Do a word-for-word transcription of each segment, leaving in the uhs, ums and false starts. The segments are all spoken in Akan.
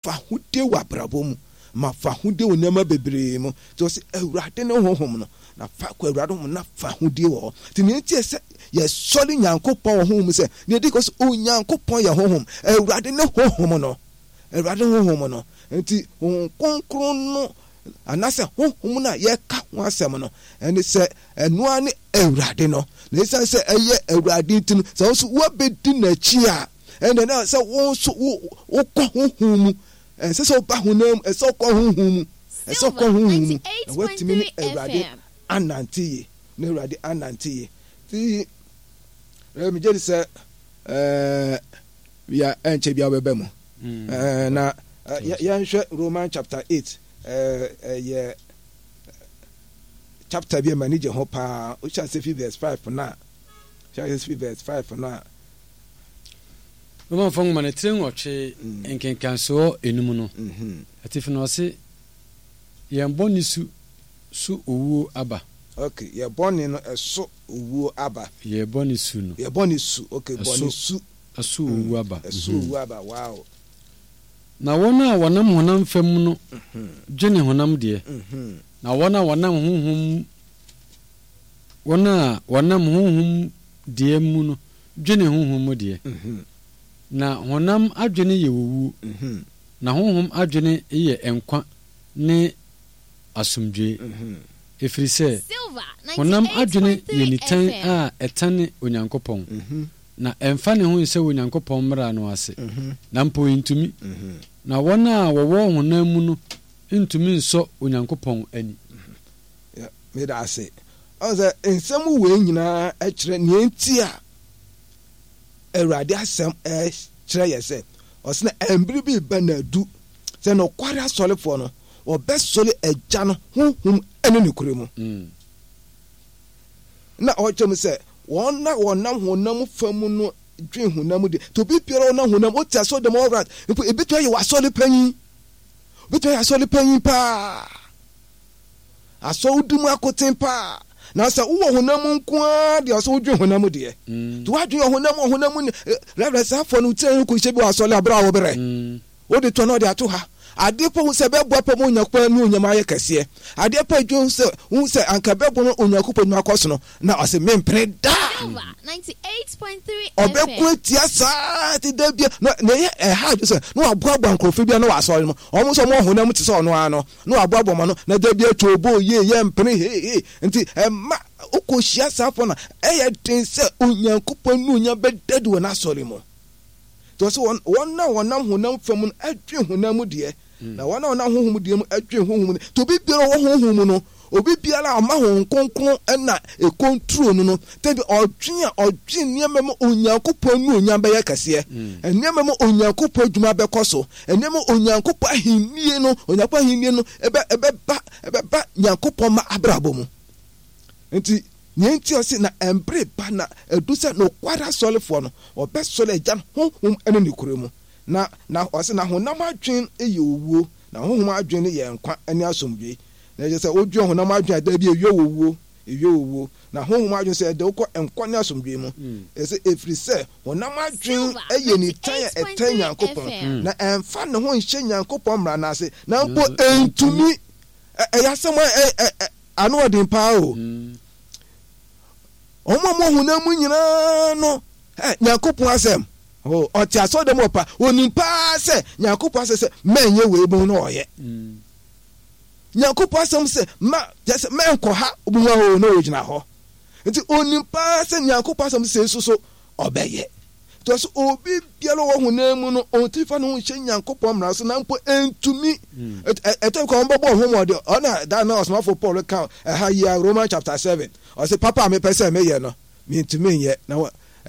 Fahodie wɔ abrabɔ mu, ma fahodie wɔ nneɛma bebree mu. Nti ɔse Awurade ne Honhom no, na fa kɔ Awurade Honhom na fahodie wɔ hɔ. Nti nea nti ɛsɛ yɛsɔre Nyankopɔn wɔ Honhom mu sɛ, nea ɛdi kan ɔse Onyankopɔn yɛ Honhom, Awurade ne Honhom no, Awurade Honhom no. Nti Honhom Kronkron no anaasɛ Honhom no a yɛka ho asɛm no, ɛne sɛ ɛno ara ne Awurade no. Na ɛsiane sɛ ɛyɛ Awurade nti no, sɛ wo nso woabɛdi n'akyi a, ɛnna na sɛ wo nso wo wokɔ honhom mu. Ɛnsɛ sɛ woba honam mu, ɛsɛ sɛ wokɔ honhom mu. Ɛsɛ sɛ wokɔ honhom mu na woatumi ne Awurade anante yie, ne Awurade anante yie. Nti ɛɛ megye di sɛ ɛɛ wia ɛnkyɛ bia wobɛba mu. Mm. Ɛɛ na yɛnhwɛ Roman chapter eight, ɛɛ ɛyɛ chapter bi a m'ani gye ho paa. Wohyɛ ase fi verse five na hyɛ ase fi verse five na Romanfoɔ nwoma no tire nwɔtwe nkenkansoɔ enum no, atifi no ɔse, Yɛn bɔne su so owuo aba. Ok, yɛn bɔne no ɛso owuo aba. Yɛn bɔne su no. Yɛn bɔne su, ok, bɔne su. Ɛso owuo aba. Ɛso owuo aba, wow. Na wɔn a wɔnam honam fam no dwene honam deɛ, na wɔn a wɔnam honhom wɔn a wɔnam honhom deɛ mu no dwene honhom mu deɛ. Na honam adwene yɛ owuo, na honhom adwene yɛ nkwa ne asomdwoeɛ, ɛfiri sɛ honam adwene yɛ nitan a ɛtane Onyankopɔn, na ɛmfa ne ho nhyɛ Onyankopɔn mmara no ase, na mpo ɛntumi. Na wɔn a wɔwɔ honam mu no ntumi nsɔ Onyankopɔn ani. Meda ase. Ɔn sɛ nsɛm wei nyinaa kyerɛ nea enti a Awurade asɛm kyerɛ yɛ sɛ ɔsɛ na mbere bi reba na adu sɛ nokware asɔrefoɔ no wɔbɛsɔre Agya no honhom ne nokorɛ mu. Mm. Na ɔkyerɛ mu sɛ wɔn na wɔnam honam fa mu no dwen honam de. Nti obi biara ɔnam honam, wote asɔre dɛm ɔwrat, mpo ebetumi ayɛ w'asɔre panyin. Obetumi ayɛ asɔre panyin paa. Asɔredi mu akoten paa. Na sɛ wowɔ honam mu nko ara deɛ, ɔsɛ wodwen honam mu deɛ. Mm. Nti woadwen ɔhonam mu, ɔhonam mu ne Reverend saa afɔ no wotia yɛn kɔhyɛ bi wɔ asɔre a berɛ a wɔbrɛ. Mm. Wode toa na ɔde ato ha. Adeɛ pa hu sɛ ɛbɛboa pa ma Onyankopɔn anuonyam ayɛ kɛseɛ. Adeɛ pa dwen sɛ hu sɛ anka ɛbɛboa ma Onyankopɔn adwuma akɔ so no, na ɔse mempene da. Ɔbɛko atia saa ti da bia na na ɛyɛ ɛha adwene sɛ na waboaboa nkurɔfoɔ bi ano wɔ asɔre no mu. Wɔn nso wɔn honam te sɛ ɔno ara no. Na waboaboa wɔn ano na da bi atwa obo yie yɛ mpene hee hee. Nti ɛma wokɔhyia saa foɔ no a, ɛyɛ den sɛ Onyankopɔn anuonyam bɛda adi wɔ n'asɔre mu. Nti ɔse wɔn wɔn a wɔnam honam fam no dwen honam mu deɛ, na wɔn a wɔnam honhom deɛ mu dwen honhom mu deɛ. Nti obi biara a ɔwɔ honhom mu no, obi biara a ɔma Honhom Kronkron na ɛkontro no no, tɛbi ɔdwen a ɔdwen nneɛma mu Onyankopɔn anuonyam bɛyɛ kɛseɛ, nneɛma mu Onyankopɔn adwuma bɛkɔ so, nneɛma Onyankopɔn ahennie no, Onyankopɔn ahennie no ɛbɛ ɛbɛba ɛbɛba Nyankopɔn ma abrabɔ mu. Nti nea enti ɔse na ɛmbere ba na adu sɛ nokware asɔrefoɔ no wɔbɛsɔre Agya no honhom ne nokorɛ mu. Na na ɔse na honam adwen yɛ owuo, na honhom adwen no yɛ nkwa ne asomdwoe. Na ɛkyerɛ sɛ wodwen honam adwen a dabi ewie wɔ owuo, ewie wɔ owuo. Na honhom adwen sɛ ɛde wokɔ nkwa ne asomdwoe mu. Ɛsɛ ɛfiri sɛ honam adwen yɛ nitan a ɛtan Nyankopɔn, na ɛmfa ne ho nhyɛ Nyankopɔn mmara no ase, na mpo ɛntumi. Ɛyɛ asɛm a ano ɔden paa o. Wɔn a wɔwɔ honam mu nyinaa no, Nyankopɔn asɛm. Ɔte asɔre dɛm ɔpa, onim paa sɛ Nyankopɔn asɛm sɛ mɛnyɛ wei bu na ɔyɛ. Nyankopɔn asɛm sɛ ma kyɛ sɛ mɛnkɔ ha bu a o na ogyina hɔ. Nti onim paa sɛ Nyankopɔn asɛm sɛ nso so ɔbɛyɛ. Nti ɔsɛ obi biara wɔ honam mu no ɔntumi fa ne ho nhyɛ Nyankopɔn mmara so na mpo ɛntumi. Ɛtɔ kɔ wɔn bɛbɔ ho mmɔden. Ɔna da na ɔsomafo Paul ka ɛha yi a Roman chapter seven. Ɔsɛ papa a mepɛ sɛ meyɛ no mentumi nyɛ na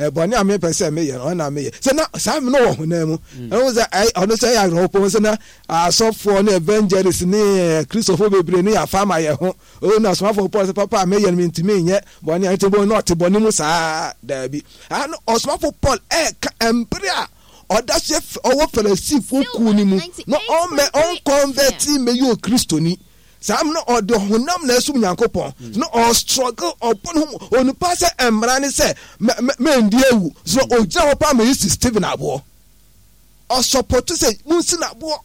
bɔne a mepɛ sɛ meyɛ no ɔna meyɛ. Sɛ na saa no wɔ honam mu. Ɛho sɛ ɔno sɛ ɛyɛ awerɛhoɔ pɔn sɛ na asɔfoɔ ne evangelist ne Kristofo bebree ne yɛafa ama yɛ ho. O na ɔsomafo Paul sɛ papa a meyɛ no mentumi nyɛ bɔne a nti bɔne na ɔte bɔne mu saa daabi. Aha no ɔsomafo Paul ɛreka mbere a ɔda so yɛ ɔwɔ Farisifoɔ kuo no mu na ɔmmɛ ɔnkɔnvɛte mmɛyɛ Okristoni. Saa no ɔde ɔhonam na ɛsom Nyankopɔn. Mm. No ɔstruggle ɔbɔ ne ho onipa sɛ mmara ne sɛ mɛndi awu. So mm. ɔgyina hɔ paa ma yɛsi Stephen aboɔ. Ɔsɔpɔto sɛ monsi no aboɔ.